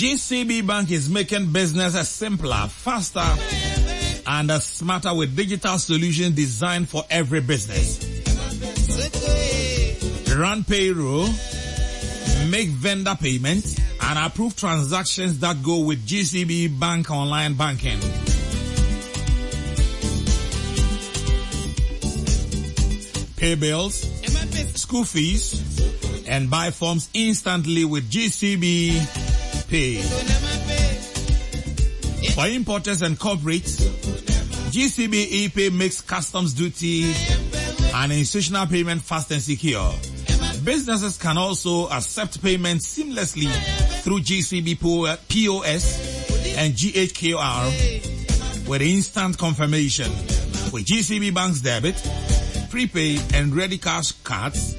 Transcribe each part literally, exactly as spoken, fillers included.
G C B Bank is making business simpler, faster, and smarter with digital solutions designed for every business. Run payroll, make vendor payments, and approve transactions that go with G C B Bank Online Banking. Pay bills, school fees, and buy forms instantly with G C B Pay. For importers and corporates, G C B ePay makes customs duty and institutional payment fast and secure. Businesses can also accept payments seamlessly through G C B P O S and G H Q R with instant confirmation. With G C B Bank's debit, prepaid and ready cash cards,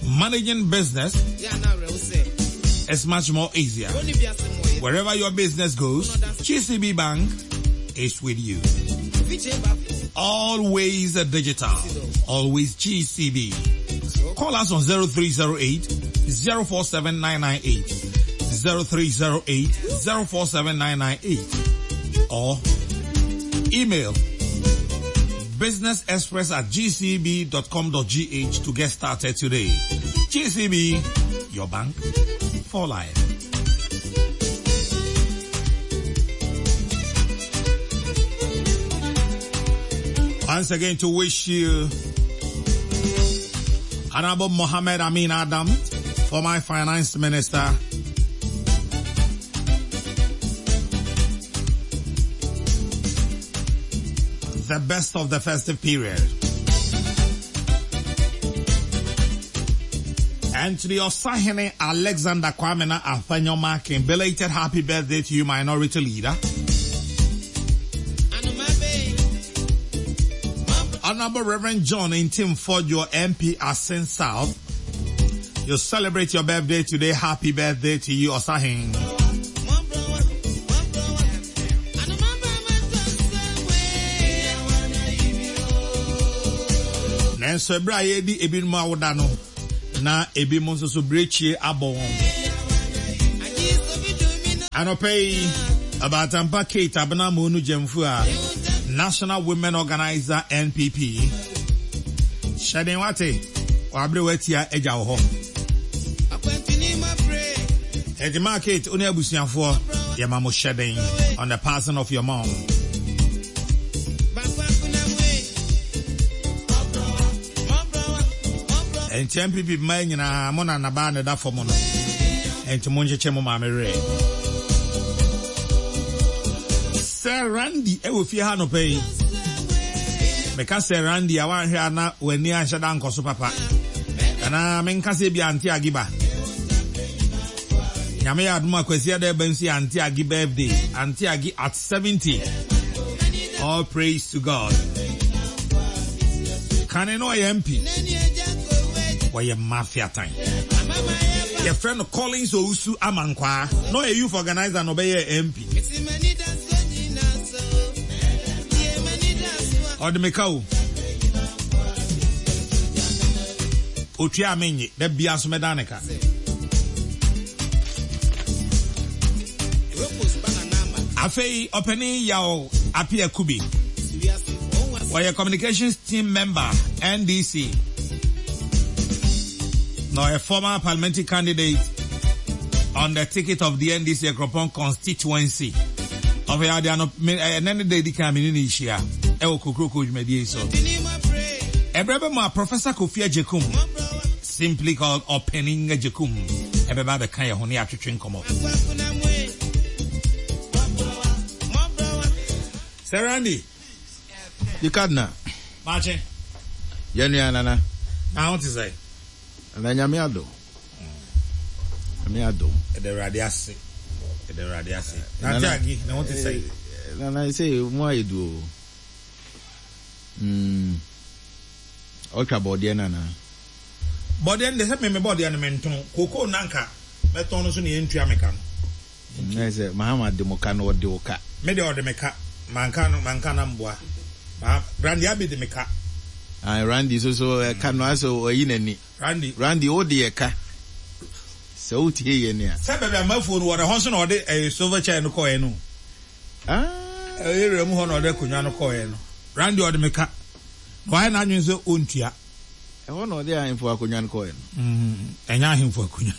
managing business is much more easier. Wherever your business goes, G C B Bank is with you. Always digital. Always G C B. Call us on zero three zero eight zero four seven nine nine eight, zero three zero eight zero four seven nine nine eight, or email businessexpress at g c b dot com dot g h to get started today. G C B, your bank for life. Once again, to wish you, Honorable Mohammed Amin Adam, former finance minister, the best of the festive period. And to the Osahene Alexander Kwamena Afenyo, belated happy birthday to you, minority leader. Honorable Reverend John Ntim Fordjour, M P Assin South. You celebrate your birthday today. Happy birthday to you, Osahin. Nanso ɛberɛ a yɛdi ebinom awoda no na ebinom nso so berekyie abɔ wɔn. Anɔpɛ yi, Abatampa Kate Abena Monu Gyamfu a National Women Organizer N P P. Hyɛden wate, wabere watia agya wɔ hɔ. Ejima Kate, wo ne abusuafoɔ, yɛma mo hyɛden on the passing of your mom. Nti N P P mmaa nyinaa mo na nabaa ne da fam no. Nti mo nkyekyɛ mo maame werɛ. Sir Randy ɛwɔ fie ha nɔpɛ yi. Meka Sir Randy a wanhwɛ a na w'ani anhyɛ da nkɔ so papa. Anaa menka sɛ bi Ante Agiba. Nyame yɛ adom akwasi ada ɛba nso yɛ Ante Agi birthday. Ante Agi at seventy. All praise to God. Kane no ɔyɛ M P. Wɔyɛ mafia time. Yɛfrɛ no Collins Owusu Amankwaa. Na ɔyɛ youth organizer na ɔbɛyɛ M P. Ɔde meka o. Otua menye da bia so mɛda ne ka. Afei ɔpanin Yaw Apia Kubi. Wɔyɛ communications team member N D C. Na ɔyɛ former parliamentary candidate on the ticket of the N D C Akropong constituency. Ɔfɛ ade ano ɛnɛ ne da edi kan mi ne ne hyia ɛwɔ kokroko dwumadie yi so. Ɛbrɛ bɛ mu a Professor Kofi Agyekum, simply called Ɔpanin Agyekum, ɛbɛba abɛka yɛn ho ne atwetwe nkɔmɔ. Sir Randy. The Cardinal. Maakye. Yɛn nua nana. Na ho te sɛ? Na Nyame adom. Nyame adom. Ɛda Awurade ase. Ɛda Awurade ase. Na ate agi na ho te sɛ? Nana sɛ mu ayɛ du o. Mm. Ɔtwa bɔɔdeɛ nana. Bɔɔdeɛ no de sɛ meme bɔɔdeɛ no mentɔn. Kokoo nanka mɛtɔn no so ne yɛntua meka no. Na sɛ Mahama de mo ka no ɔde wo ka. Me de ɔde me ka. Manka no manka na mboa. Ma Randy Abi de me ka. Ah, Randy so so ɛka no asɛ ɔyi n'ani. Randy. Randy o de yɛ ka. Sɛ wotie yɛ ni a. Sɛ baabi amafuo no wɔ hɔ nso na ɔde ɛyɛ silver chair no kɔɛ no. Ah. Ɛyɛ mu hɔ na ɔde akonnwa no kɔɛ no. Randy ɔde me ka. Na wayɛ n'adwene sɛ ɔntua. Ɛhɔ na ɔde ahemfo akonnwa no kɔɛ no. Ɛnyɛ ahemfo akonnwa.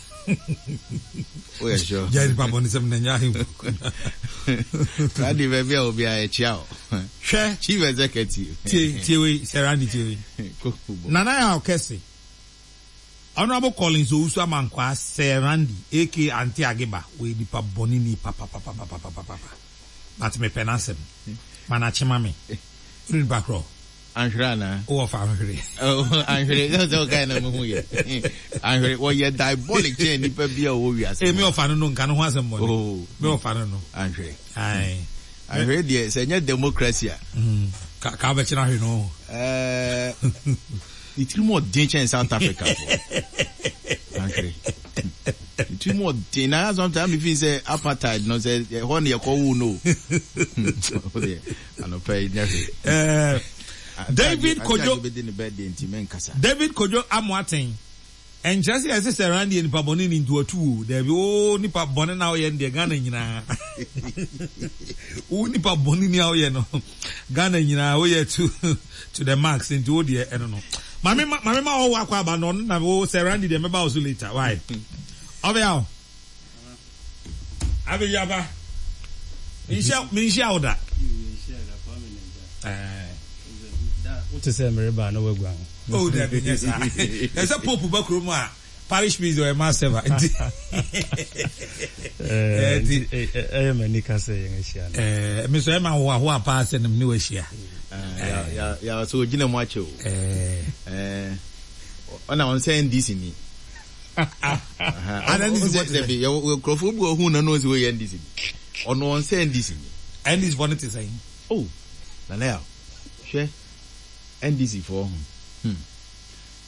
Woyɛ sure. Gya nipa bɔ ne sɛm na ɛnyɛ ahemfo akonnwa. Randy baabi a obi a ɛkyia o. Hwɛ. Chief executive. Tie tie wei sɛ Randy tie wei. Nana yɛ ɔkɛse. Honorable Collins Owusu Amankwa Sir Randy aka Auntie Agiba wɔ nipa bɔne ni papapapapapapa. But mepɛ n'asɛm. Mana kyema me. Wode nipa korɔ. Anhwere ana? Wowɔ fa ahwere. Anhwere sɛ sɛ ɔkae na mehu yɛ. Anhwere wɔyɛ diabolic kyɛn nipa bi a ɔwɔ wiase. Eh, me ɔfa no no nka no ho asɛm bɔne. Oh. Me ɔfa no no. Anhwere. Aye. Anhwere deɛ sɛ nyɛ democracy a. Mm. Ka ka bɛkyerɛ ahwere no. Eh, ne tirim ɔden kyɛn South Africa fo. Anhwere. Ne tirim ɔden na sometimes me feel sɛ apartheid no sɛ ɛhɔ ne yɛkɔ wo no. O deɛ anɔpa yi nyɛ hwee. Eh, David Kojo bɛdi ne birthday nti menkasa. David Kojo Amoaten. Ɛnkyerɛ sɛ yɛsɛ sɛ Randy yɛ nipa bɔne ni nti watu wo. Dabi wo nipa bɔne na woyɛ no deɛ Ghana nyinaa. Wo nipa bɔne ni a woyɛ no Ghana nyinaa woyɛ to to the max nti wo deɛ ɛno no. Maame ma maame ma ɔwɔ akɔ aba no ɔno na wo sɛ Randy deɛ mɛba wo so later. Why? Ɔbɛya o. Abɛyaba. Menhyia menhyia wo da. Eh. Wote sɛ mereba na waguan. Oh, dabi nyɛ saa. Ɛsɛ Pope ba kurom a parish priest ɔyɛ mass server nti. Nti ɛyɛ m'ani ka sɛ yɛn ahyia no. Eh, me so ɛma ahoahoa paa sɛ ne wahyia. Ya ya so ogyina mu akyɛ o. Eh. Eh. Ɔna ɔn sɛ N D C ni. Ana N D C fo te sɛ? Dabi, yɛ nkurɔfoɔ bi wɔ hu na no sɛ wɔyɛ N D C ni. Ɔno ɔn sɛ N D C ni. N D C fo no te sɛn? Oh, Nana ya hwɛ N D C foɔ ho. Hmm.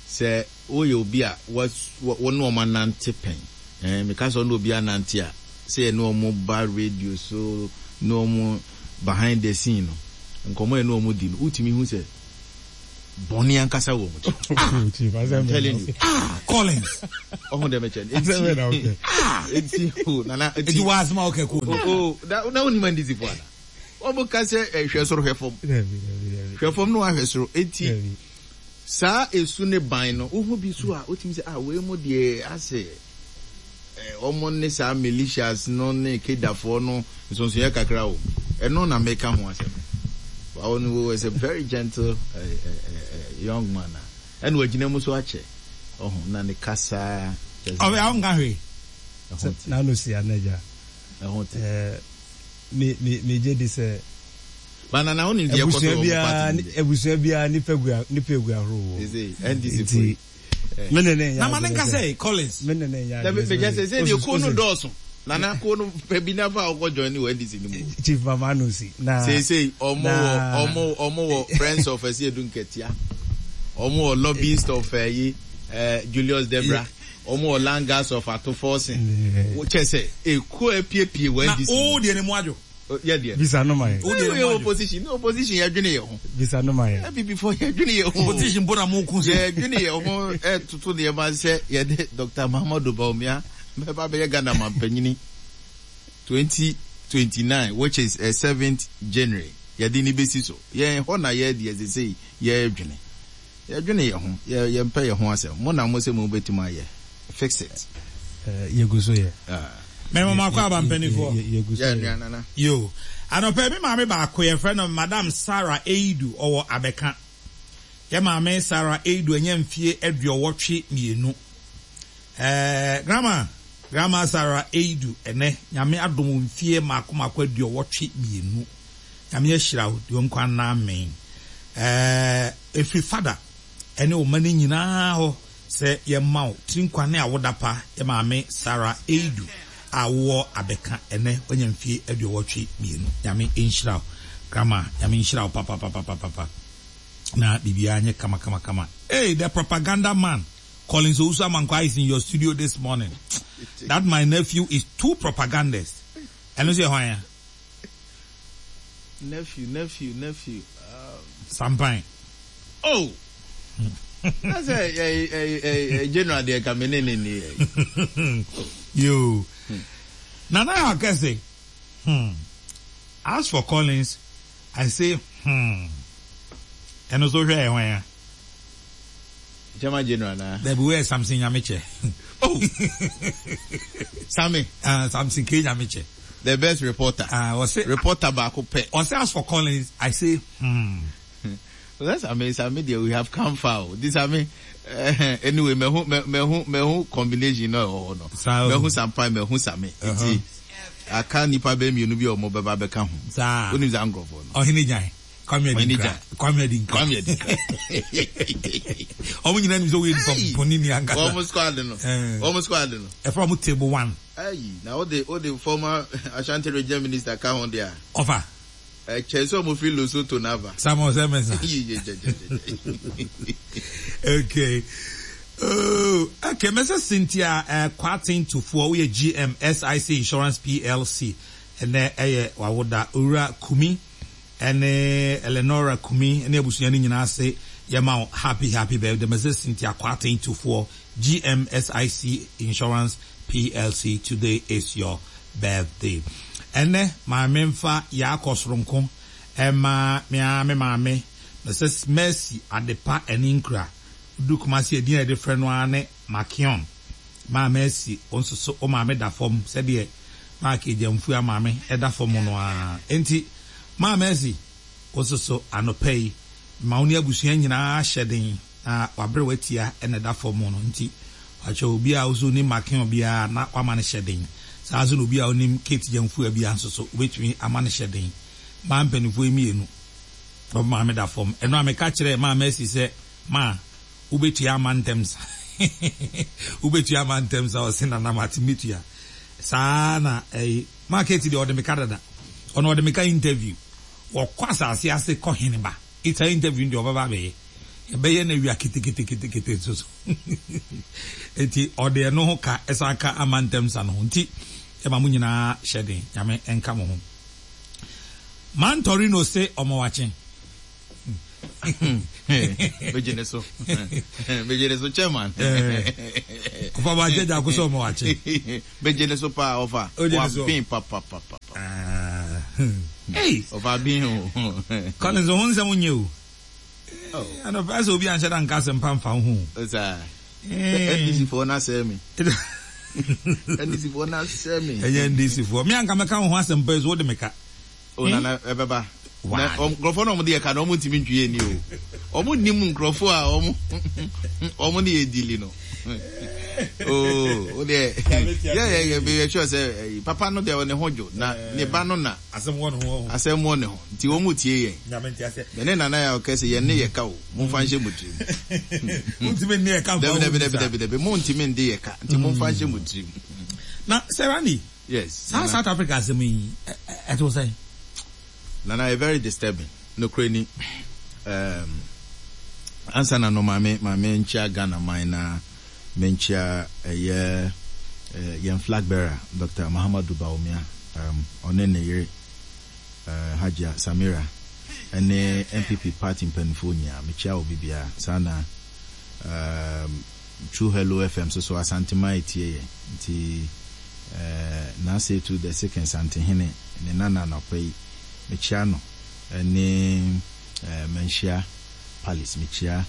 Sɛ woyɛ obi a wo ne ɔmo anante pɛn. Eh, meka sɛ ɔne obi anante a, sɛ yɛ ne ɔmo ba radio so, ne ɔmo behind the scene no, nkɔmɔ yɛ ne ɔmo di no, wotumi hu sɛ bɔne ankasa wɔ ɔmo ti. Chief, I'm telling you. Ah, Collins. Ɔho dɛ mɛkyɛ. Asɛm bɛ na wokɛ. Eti o Nana eti wɔ asɛm a wokɛ ko no. O na na wonim N D C fo ana? Wɔn ka sɛ hwɛ soro hwɛ fam. Dabi, dabi, dabi. Hwɛ fam no wahwɛ soro. Eti Dabi. Saa esu ne ban no wohu bi so a wotumi sɛ, ah, wei mu deɛ asɛ wɔn ne saa militias no ne kedafoɔ no nsonsonyɛ kakra o. Ɛno na meka ho asɛm. Ɔno was a very gentle uh, uh, uh, young man a ɛna wagyina mu so akyɛ ɔho na ne kasa. Ɔbɛ awo nka hwee. Ɛho te. N'ano si anagya. Ɛho te. Ɛɛ, me me me gye di sɛ Bana na wonim deɛ ɛkɔ so abusua wɔ mo biara party no deɛ. Abusua biara nipa gu nipa egu ahorow wɔ. Sese N D C Nti fo yi. me ne ne nyɛ Na ma ne adwene nka sɛ sɛ Collins. Me ne ne nyɛ Dabi adwene bɛgya sɛ sɛ sɛ deɛ kuo no osi- dɔɔso. Nana kuo no pɛ bi nafa a ɔkɔ join wɔ N D C no mu. Chief Mama no si na Seesei ɔmo wɔ na ɔmo ɔmo wɔ Friends of Asiedu Nketia. Ɔmo wɔ lobbyist of ɛyi ɛɛ Julius Debra. Ɔmo wɔ Langas of Ato Forson. Kyɛ sɛ ekuo apiepie wɔ Na N D C o mu. deɛ ne mu adwo. Yɛ deɛ. Bisa no ma yɛ. O deɛ ne Yɛ mu adwo. Opposition ne opposition yɛ dwene yɛ ho. Bisa no ma yɛ. N P P fo yɛ dwene yɛ ho. Opposition bo na mo kun sɛ. Yɛ dwene yɛ ho ɛtoto nneɛma sɛ yɛde Doctor Mahamudu Bawumia bɛba bɛyɛ Ghana mampanyini twenty twenty nine, which is uh, seventh January, yɛde ne besi so. Yɛn hɔ na yɛ deɛ sese yɛdwene yɛdwene yɛ ho, yɛ yɛmpɛ yɛ ho asɛm. Mo na mo sɛ mo bɛtumi ayɛ fix it. Ɛɛ, yɛgu so yɛ. Ah. Mɛmɔ ma akɔ aba mpanimfoɔ. Yɛgu so yɛ yɛ. Nua Nana. Yo. Anɔpɛ mi maame baako yɛfrɛ no Madam Sarah Eidu, ɔwɔ Abɛka. Yɛ maame Sarah Eidu anya mfie aduɔwɔtwe mmienu. Ɛɛ grandma grandma Sarah Eidu, ɛnɛ Nyame adom mfie mako mako aduɔwɔtwe mmienu. Nyame ahyira wo deɛ nkwa nna amen. Ɛɛ efiri fada ɛne ɔma no nyinaa hɔ sɛ yɛma wo tiri nkwa ne awoda pa. Yɛ maame Sarah Eidu a wowɔ Abɛka, ɛnɛ wanya mfie aduɔwɔtwe mmienu. Nyame nhyira wo, grandma. Nyame nhyira wo papapapapapa na biribiara nyɛ kama kama kama. Hey, the propaganda man Collins Owusu Amankwa is in your studio this morning. That my nephew is too propagandist. Ɛno nso yɛ hwan ya? Nephew, nephew, nephew. Um, Sampan. Oh, that's a, a, a, a, a general deɛ ka me ne ne ni. Yo. Nana Akese, hmm. As for Collins, I say, hmm. Ɛno so hwɛ ɛhwan ya. Chairman General na. Dabi wɛ Samson Nyamekyɛ. Oh. Sammy. Ah, Samson K Nyamekyɛ. The best reporter. Ah, ɔsɛ reporter baako pɛ. Ɔsɛ as for Collins, I say, hmm. That's amazing. Sammy deɛ, we have come far. This Sammy. Uh, anyway, mehu mehu mehu combination no ɛwɔ hɔ no. Mehu Sampai, mehu Sammy. Nti aka nipa bɛ mmienu bi a ɔmo bɛba bɛka ho. Saa. Onim saa nkurɔfoɔ no. Ɔhene gyan. Kwame Adinkra. Kwame Adinkra. Kwame Adinkra. Ɔmo nyinaa nim sɛ woyɛ nipa bɔne ni ankasa. Ɔmo squad no. Ɔmo squad no. Ɛfra ɔmo table one. Ayi, na ɔde ɔde former Ashanti Region Minister ka ho deɛ. Ɔfa. Ɛkyɛn sɛ ɔmo fi Lesotho n'aba. Samuel Sɛmɛnsa. Okay. Oh, okay. Missus Cynthia uh, Kwatin Tufuo, we G M S I C Insurance P L C. Ɛnɛ ɛyɛ wawoda Owura Kumi ɛne Eleonora Kumi ɛne abusua no nyinaa ase yɛma wo happy happy birthday, Missus Cynthia Kwatin Tufuo, G M S I C Insurance P L C. Today is your birthday. Ɛnɛ maame mfa yaakɔ soronko ɛma mea me maame Missus Mercy Adepa ɛne nkura du Kumasi edin a yɛde frɛ no ara ne Makion. Maa Mercy, wo nso so wo maame da fam sɛdeɛ Mark Egyamfua maame ɛda fam no ara. Enti maa Mercy, wo nso so anɔpa yi ma wo ne abusua nyinaa hyɛ den na wabere watia ɛna ɛda fam no. Nti wakyɛ obi a woso nim Makion biara na wama no hyɛ den saa nso na obi a onim Kate Gyamfua biara nso so wobɛtumi ama no hyɛ den. Maa mpanimfoɔ yi mmienu ɔmo maame da fam. Ɛno a meka kyerɛ maa Mercy sɛ maa wobɛtua ama ntɛm sa, wobɛtua ama ntɛm sa. Ɔse nana mate, metua saa. Na ɛyi maa Kate deɛ, ɔde meka dada. Ɔno ɔde meka interview, wɔkɔ asase ase kɔ hene ba ita interview deɛ ɔbɛba abɛyɛ, yɛbɛyɛ no awia keteketekete nso so. Nti ɔde ɛno ho ka ɛsan ka ama ntɛm sa no ho. Nti ɛma mo nyinaa hyɛ den, Nyame ɛnka mo ho. Mantorino se ɔmɔ wakye. Megye ne so, megye ne so, chairman. Ɔfa wakye gya ko sɛ ɔmɔ wakye. Megye ne so paa, ɔfa. Ogye ne so. Wabin papapapa. Hey. Ɔfa bin o. Collins ho nsɛm nyɛ o. Anɔpɛ sɛ obi anhyɛ da nka asɛmpa mfa wo ho. Saa N D C foɔ na sɛ mi N D C foɔ na sɛ mi. Ɛnyɛ N D C foɔ, me anka mɛka wo ho asɛmpa yi so wode meka. O nana, ɛbɛba na nkurɔfoɔ na ɔmo de yɛ ka na ɔmo ntumi ntwi yɛ ni o. Ɔmo nim nkurɔfoɔ a ɔmo ɔmo ne yɛ dili no o. O deɛ, yɛ yɛ yɛ yɛ sure sɛ ɛyi papa no deɛ, ne ho dwo na ne ba no na asɛm wɔ ne ho. Asɛm wɔ ne ho nti wɔn mu tie yɛn. Nyame nti asɛ. Mɛ ne nana yɛ ɔkɛ sɛ yɛn ne yɛ ka o, mo nfa nhyɛ mo tirim. Wontumi nne yɛ ka nfa dabi wo dabi ho dabi bisa. Dabi dabi, mo ntumi nde yɛ ka nti mo nfa nhyɛ mo tirim. Na Serani, yes saa South Africa asɛm yi ɛte wo sɛn? Nana, yɛ very disturbing nokorɛ ni. um, ansa na no, maame maame nkyia Ghana man na menkyia ɛyɛ uh, yɛn flag bearer Doctor Mahamadu Bawumia, um, ɔne ne yere uh, Hajia Samira ɛne N P P party mpanimfoɔ nyinaa. Mekyia obi biara saa na um, True Hello F M so so Asantema etie yɛn. Nti uh, N'Asetu the second Santehene ne nana anɔpa yi mekyia no ɛne uh, Manhyia Palace, mekyia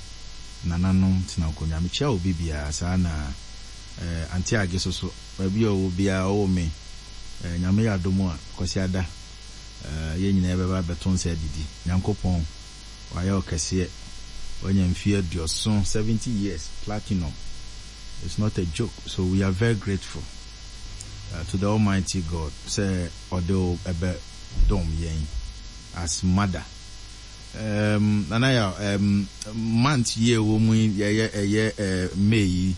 nananom tena nkonnwa, mekyia obi biara saa na uh, Ante Age so so baabi a ɔwɔ biara ɔwɔ me uh, Nyame yɛ adom a Kwasi ada uh, yɛn nyinaa yɛbɛba abɛto nsa adidi. Nyankopɔn wayɛ ɔkɛseɛ, wanya mfeɛ aduɔson, seventy years platinum. It's not a joke, so we are very grateful uh, to the Almighty God sɛ ɔde wo ɛbɛ dɔm yɛn as mother. um, nana yɛ um, month yi a ɛwɔ mu yi, yɛyɛ ɛyɛ uh, May yi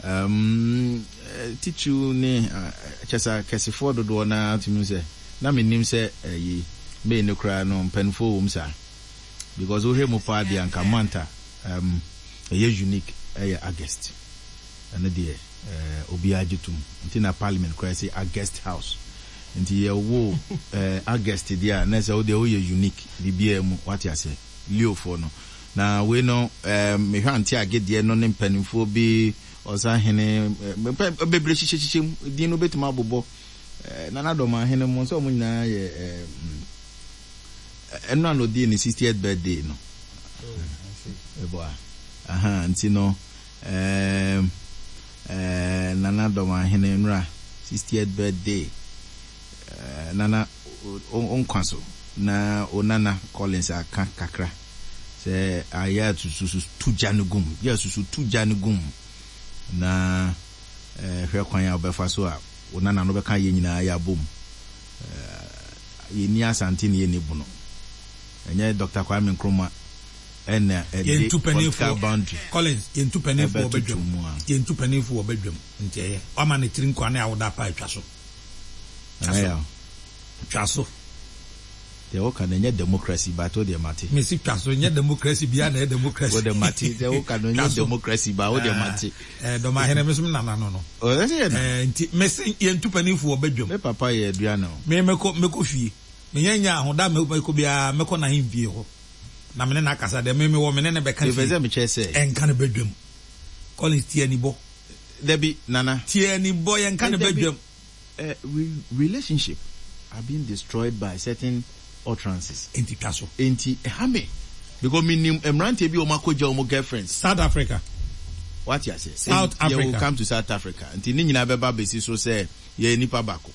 um, eh, titiriw ne uh, kyɛ sɛ akɛsefoɔ dodoɔ naa tumi sɛ na menim sɛ ɛyi May no koraa no mpanimfoɔ wɔ mu saa, because wohwɛ mu paa deɛ anka month a um, ɛyɛ unique ɛyɛ August. Ɛno deɛ uh, obiara gye tom nti na parliament koraa sɛ August House. Nti yɛwo uh, August deɛ a na sɛ wodeɛ woyɛ unique biribiara mu, wate aseɛ? Leofoɔ no na wei no um, mehwɛ Ante Agedeɛ no ne mpanimfoɔ bi Ɔsahene mpɛ bebree hyehyɛhyehyɛ mu din no bɛtumi abobɔ Nana Dɔmahene mu sɛ ɔmo nyinaa yɛ ɛno a na ɔdii ne sixtieth birthday no ɛbɔ a aha nti no ɛɛm ɛɛ Nana Dɔmahene nnura sixtieth birthday ɛɛ Nana nkwa so na Onana Collins aka kakra sɛ ayɛ atususu tu gya no gum yɛ asusu tu gya no gum na ɛɛ hwɛ kwan a wɔbɛfa so a Onana no bɛka yɛn nyinaa yɛ abom. Ɛɛ yɛnni Asante ne yɛnni Bono. Ɛnyɛ Doctor Kwame Nkrumah ɛna ɛde political boundary Collins, yɛntu panimfoɔ wɔ badwam. Yɛntu panimfoɔ wɔ badwam. Nti ɛyɛ wama ne tiri nkwa ne awoda pa atwa so. Twa so. Twa so. Deɛ woka no ɛnyɛ democracy, but wo deɛ mate. Mesi twa so, ɛnyɛ democracy bia na ɛyɛ democracy. Wo deɛ mate, deɛ woka no ɛnyɛ democracy, but wo deɛ mate. Ɛɛ Dɔmahene me so me nana no no. Ɔsɛ yɛ na. Ɛɛ nti mesi yɛntu panimfoɔ wɔ badwam. Me papa yɛ aduane o. Me mɛkɔ mɛkɔ fie. Menyɛ nya ahoda mɛkɔ biara mɛkɔ n'ahemfie hɔ. Na me ne no akasa deɛ me mewɔ me ne no bɛka fie. Mepɛ sɛ mekyerɛ sɛ. Ɛnka no badwam. Collins tie anibɔ. Dabi Nana. Tie anibɔ yɛnka no badwam. Uh, relationship are being destroyed by certain utterances. Enti twa so. Enti ɛha me because minim mmeranteɛ bi a wɔn akɔgya wɔn girlfriends. South Africa. Wate ase. South Africa. Yɛ will come to South Africa. Nti ne nyinaa bɛba besi so sɛ yɛyɛ nipa baako.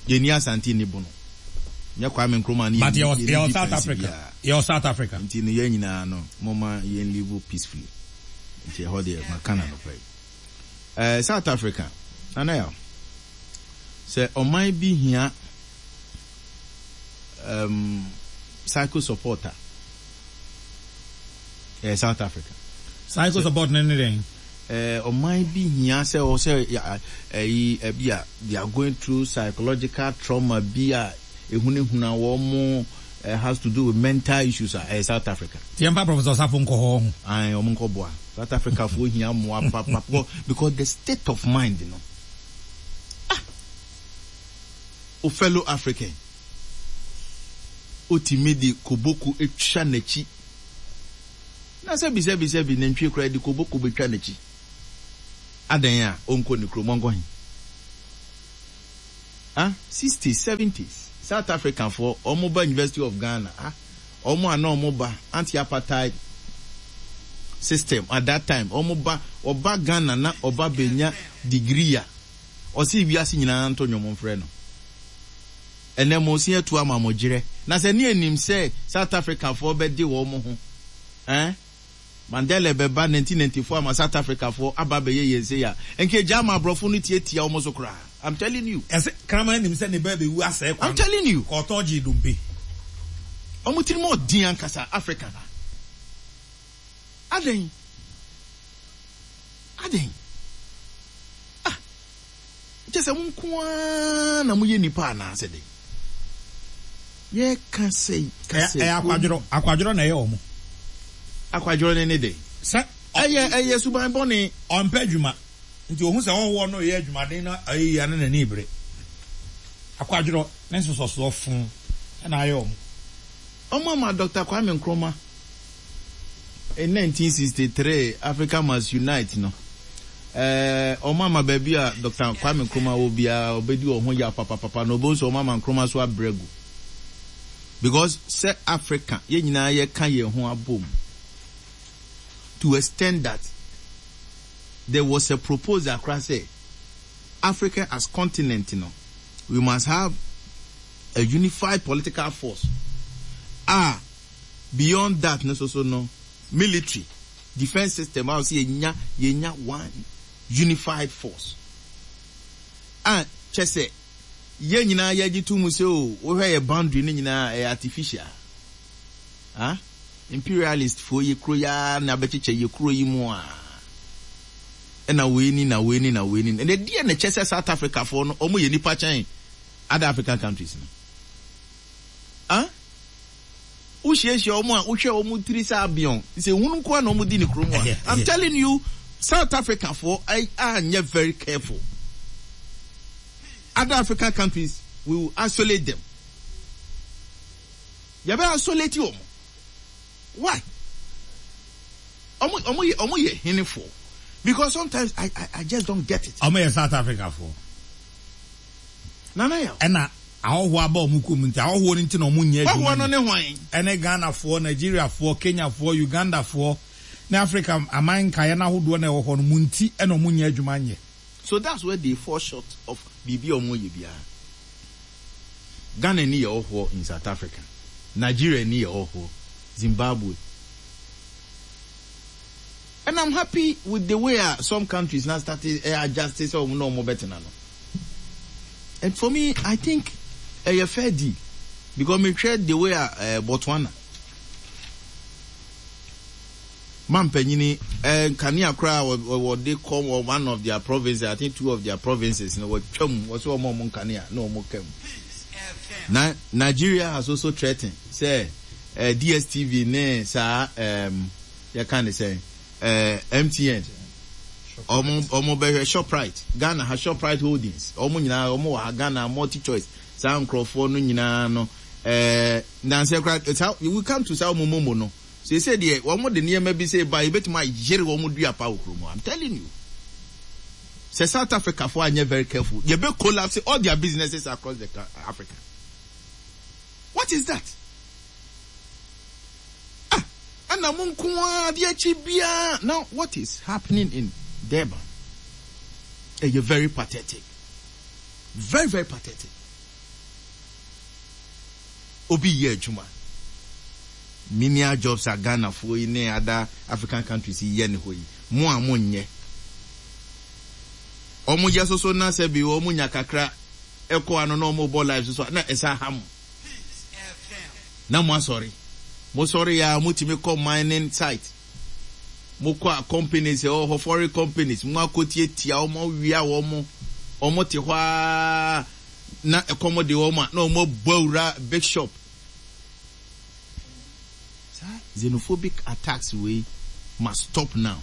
Yɛni Asante ni Bono. Nyɛ Kwame Nkrumah ne yɛni yɛni difference biara. Yɛwɔ South Africa. Nti no yɛn nyinaa no moma yɛn live peacefully. Nti ɛhɔ deɛ maka na nɔpɛ yi. Eh, South Africa, Nana Yaw, sɛ ɔman bi hia um, psycho support a, ɛyɛ South Africa. Psycho support ne ne dɛn? Eh, ɔman bi hia sɛ ɔsɛ ɛyi ɛbi a they are going through psychological trauma bi a ehunahuna wɔn mo uh, has to do with mental issues a ɛyɛ South Africa. Tiɛmpa Professor Safo nkɔ hɔ ho. Ayi wɔn nkɔ boa. South Africa fo hia mmoa papa because the state of mind no. Ah, o fellow African otimi de koboko etwa n'akyi na sɛbi sɛbi sɛbi nantwie koraa de koboko betwa n'akyi adan a ɔnkɔ ne kurom ɔnkɔ he ah sixties, seventies South Africa foɔ ɔmo ba University of Ghana, ah ɔmo a na ɔmo ba anti-apartheid system at that time, ɔmo ba ɔba Ghana na ɔba benya degree a ɔsi wiase nyinaa nto nnwom mfrɛ no. Ɛnɛ mo si atu ama mo gyerɛ na sɛ ne anim sɛ South Africa foɔ bɛde wɔn ho eh Mandela bɛba nineteen ninety-four ama South Africa foɔ aba bɛyɛ yɛn se ya nke gya ama aborɔfo no tietia wɔn so koraa. I'm telling you. Ɛsɛ kraman nim sɛ ne ba bɛwu asɛe kwan. I'm telling you. Kɔɔtɔn gye dompe. Wɔn tirim ɔden ankasa Africa ha. Adan adan ah kyɛ sɛ mo nko ara na moyɛ nipa anaasɛ de yɛka sɛ kasa. Ɛyɛ akwadworɔ, akwadworɔ na ɛyɛ wɔn. Akwadworɔ ne ne de. Sɛ ɛyɛ ɛyɛ suban bɔne. Ɔmpɛ adwuma nti ohun sɛ ɔwɔ no yɛ adwumaden na ɛyɛ yia ne n'ani bere. Akwadworɔ ne nsosɔsoɔ fun ɛna ayɛ wɔn. Ɔmo ama Doctor Kwame Nkrumah in nineteen sixty-three, Africa Must Unite no, ɛɛ ɔmo ama baabi a Doctor Kwame Nkrumah wɔ biara ɔbɛdi wɔn ho ya papapapa na ɔbɛn so ɔmo ama Nkrumah so abrɛ gu because sɛ Africa yɛn nyinaa yɛka yɛn ho abom to extend that there was a proposal koraa sɛ Africa as continent no, we must have a unified political force. Ah, beyond that no, so so no military defense system a wɔsɛ yɛnya yɛnya one unified force a kyɛ sɛ yɛn nyinaa yɛgye to mu sɛ o wohwɛ yɛ boundary no nyinaa ɛyɛ artificial. Ah, imperialist foɔ yɛ kuro yaa na abɛkyekyɛ yɛ kuro yi mu a ɛna wei ni na wei ni na wei ni ɛna deɛ na kyɛ sɛ South Africa foɔ no wɔn yɛ nipa kyɛn other African countries no. Ah, wohyiahyia wɔn a wohwɛ wɔn tiri sɛ abiɔn sɛ ehunu nko ara na wɔn di ne kurom a, I'm telling you, South Africa foɔ anyɛ very careful, other African countries, we will isolate them. Yɛbɛ isolate wɔn. Why? Wɔn wɔn yɛ wɔn yɛ henefoɔ Because sometimes I, I, I just don't get it. Ɔmo yɛ South Africa foɔ. Nana Yaw. Ɛna ahɔhoɔ aba ɔmo kurom nti ahɔhoɔ no nti na ɔmo nyɛ adwuma. Ahɔhoɔ no ne hwan? Ɛne Ghanafoɔ, Nigeriafoɔ, Kenyafoɔ, Ugandafoɔ ne Africa aman nkaeɛ n'ahodoɔ na ɛwɔ hɔ no mu nti ɛna ɔmo nyɛ adwuma nyɛ. So that's where they fall short of biribi a ɔmo yɛ biara. Ghana ni yɛ ɔhoɔ in South Africa. Nigeria ni yɛ ɔhoɔ. Zimbabwe. And I'm happy with the way uh, some countries now started uh, adjusting so no more better now. And for me, I think a uh, fair deal because me share the way uh, uh, Botswana. Man penyini eh nkanea koraa wɔde kɔ one of their provinces I think two of their provinces no wɔtwam wɔsɛ wɔn a wɔn nkanea na wɔn kam na Nigeria has also threatened sɛ eh, DSTV ne saa um, yɛka ne sɛ eh, MTN ɔmo ɔmo bɛhwɛ Shoprite Ghana ha Shoprite Holdings ɔmo nyinaa ɔmo wɔ ha Ghana multi choice saa nkurɔfoɔ no nyinaa no ɛɛ nansɛ koraa saa we come to saa ɔmo momo no sese deɛ wɔn de nneɛma bi sɛ ba ebetumi ayere wɔn dua pa wɔ kurom I'm telling you sɛ South Africa fo anyɛ very careful yɛbɛ collapse all their businesses across the Africa what is that ah ɛna mo nko ara adeɛ akyi biara now what is happening in Durban ɛyɛ very pathetic very very pathetic obi yɛ adwuma menial jobs a Ghanafoɔ yi ne other African countries yi yɛ ne hɔ yi mo a mo nyɛ ɔmo yɛ soso na sɛ bi ɔmo nya kakra ɛkɔ ano na ɔmo bɔ life soso na ɛsa ha mo na mo asɔre mo sɔre ya mo tumi kɔ mining site mo kɔ a companies ɛwɔ hɔ foreign companies mo akɔ tietia ɔmo awia wɔn ɔmo te hɔ aa na ɛkɔm de wɔn a na ɔmo abɔ awura big shop saa xenophobic attacks wei must stop now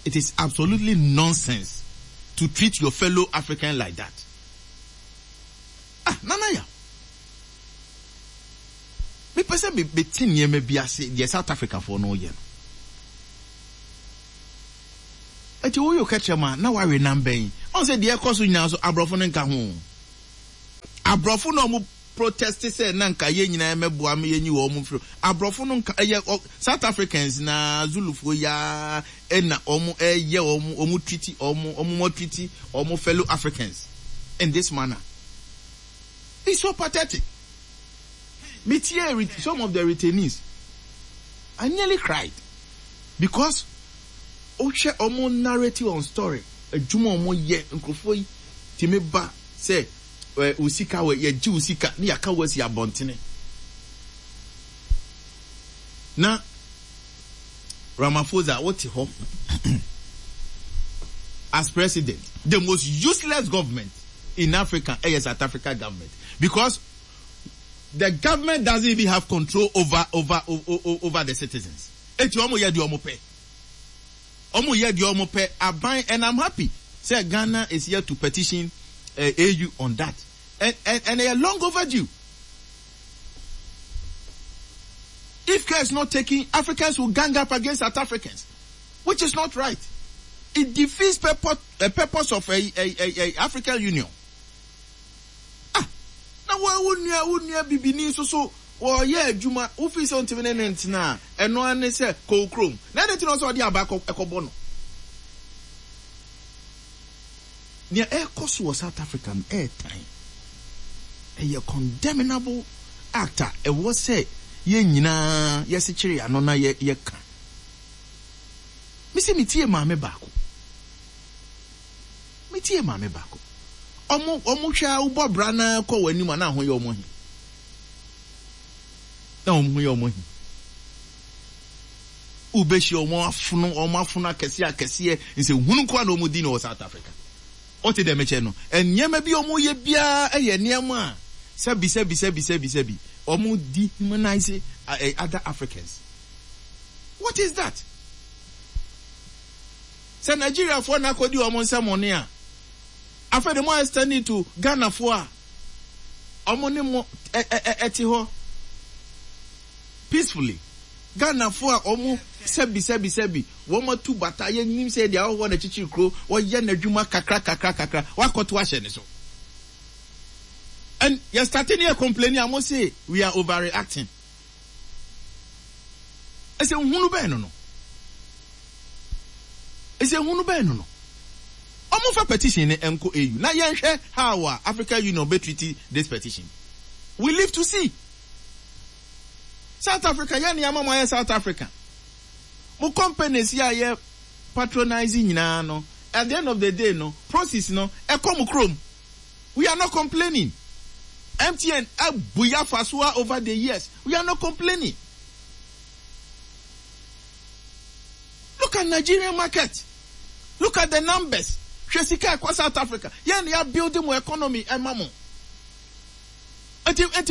it is absolutely nonsense to treat your fellow African like that ah nana ya mepɛ sɛ mete nneɛma bi ase deɛ South Africa foɔ no yɛ no ɛti woyɛ kɛkyerɛ mu a na wawe nam bɛn ɔn sɛ deɛ ɛkɔ so nyinaa so aborɔfo no nka ho aborɔfo na ɔmo protest sɛ na nka yɛn nyinaa mɛboa ma yɛnyi wɔn mfiri aborɔfo no nka ɛyɛ South Africans na Zulufoɔ yaa ɛna ɔmo ɛyɛ ɔmo ɔmo treat ɔmo ɔmo mo treat ɔmo fellow Africans in this manner it's so pathetic me tie some of the retainees I nearly cried because wohwɛ ɔmo narrative on story adwuma ɔmo yɛ nkurɔfoɔ yi tìmi ba sɛ ɛ o sika wɔ yɛgye o sika ne yɛaka wɔ asi abɔntene na Ramaphosa wote hɔ as president the most useless government in Africa ɛyɛ South Africa government because the government doesn't even have control over over over, over the citizens eti ɔmo yɛ deɛ ɔmo pɛ ɔmo yɛ deɛ ɔmo pɛ aban and i'm happy sɛ Ghana is here to petition uh, AU on that and and and they are long overdue if care is not taken Africans will gang up against South Africans which is not right it defeats purpose uh, purpose of a, a, a, a African Union ah na wo wo nua wo nua bibini nso so wɔyɛ adwuma wofi sɛ ntumi ne ne ntena a ɛno ara ne sɛ kɔɔ kurom na ɛde tena sɛ ɔde aba ɛkɔbɔ no nea ɛrekɔ so wɔ South Africa no ɛɛtan ɛyɛ condemnable act a ɛwɔ sɛ yɛn nyinaa yɛsekyere ano na yɛ yɛka mesi metie maame baako metie maame baako ɔmo ɔmo hwɛ a wobɔ bra na kɔ wɔn anim a na ho yɛ ɔmo he na wɔn ho yɛ ɔmo he wobɛhyia ɔmo afono ɔmo afono akɛseɛ akɛseɛ nsɛ hunu nkoa na ɔmo di no wɔ South Africa ɔte dɛm kyɛ no nneɛma bi ɔmo yɛ biara ɛyɛ nneɛma a sɛbi sɛbi sɛbi sɛbi sɛbi ɔmo dehumanize uh, other Africans what is that sɛ Nigeriafoɔ na akɔdi ɔmo nsɛm ɔne a afei de mo extend to Ghanafoɔ a ɔmo ne mo ɛ ɛ ɛte hɔ peacefully Ghanafoɔ a ɔmo sɛbi sɛbi sɛbi wɔn atu bata, yɛnim sɛ deɛ ahɔhoɔ na kyikyiri kuro, wɔyɛ n'adwuma kakra kakra kakra, wakɔto ahyɛ ne so. And yɛ starting yɛ complaining a, mo say we are overreacting. Ɛsɛ nhunu bɛn no no ɛsɛ nhunu bɛn no no Ɔmo fa petition ne nkɔ A U na yɛnhwɛ how a African Union bɛ treat this petition. We live to see. South Africa, yɛn nneɛma mo ayɛ South Africa, mo companies yi a yɛ patronize nyinaa no, at the end of the day no, proceeds no ɛkɔ mo kurom. We are not complaining. M T N abu yafa so over the years, we are not complaining. Look at Nigerian market, look at the numbers. Hwɛ sika ɛkɔ South Africa. Yɛn ni yɛ building mo economy ɛma mo. Nti nti